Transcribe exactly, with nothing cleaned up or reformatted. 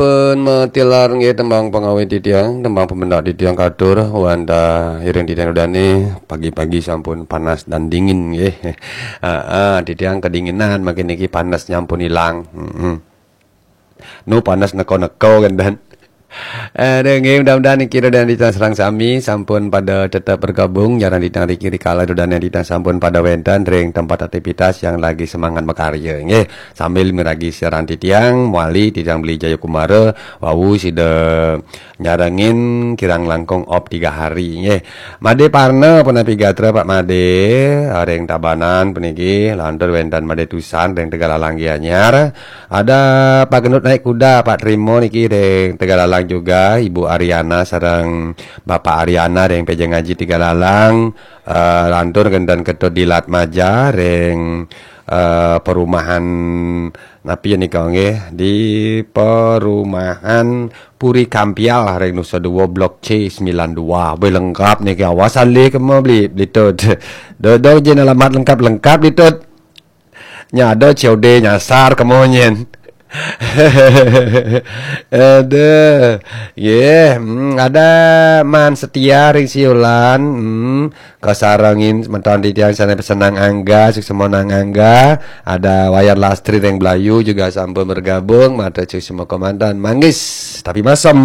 Sampun matilar nggih tembang pengawit titiang, tembang pemendak titiang katur, wanda iring titiang dodane pagi-pagi sampun panas dan dingin nggih. Heeh, titiang kedinginan makin niki panas nyampun ilang. Heeh. Nu panas neko-neko kan dan. Aduh, nggih, mudah-mudahan niki dan titiang sareng sami sampun pada tetap bergabung, jarang titiang riki rikala dan titiang sampun pada wenten ring tempat aktivitas yang lagi semangat makarya nggih. Sambil miragi siaran titiang, mawali titiang Beli Jayakumara, wau sida nyarengin kirang langkung op tiga hari nggih. Made Parna punapi gatra Pak Made, ring Tabanan puniki, lantur wenten Made Tusan ring Tegalalang Gianyar. Ada Pak Gendut Naik Kuda, Pak Trimo niki ring Tegalalang juga, Ibu Ariana sareng Bapak Ariana ring Pejeng Aji Tegalalang, eh, lantur wenten Ketut Dilat Maja ring, eh, perumahan napi nika nggih, di perumahan Puri Kampial ring Nusa Dua Blok C sembilan dua. Wih, lengkap niki, awas alih kemo Beli, Beli Tut. Dodok je alamat lengkap-lengkap Beli Tut. Nya ada C O D nyasar kemo nyen. Aduh. Nggih, hmm, ada Man Setia ring Siulan. Hmm, kasarengin semeton titiang sane pesenang Angga, suksma Nang Angga. Ada Wayan Lastri ring Blayu juga sampun bergabung, matur suksma komandan. Manggis tapi masem.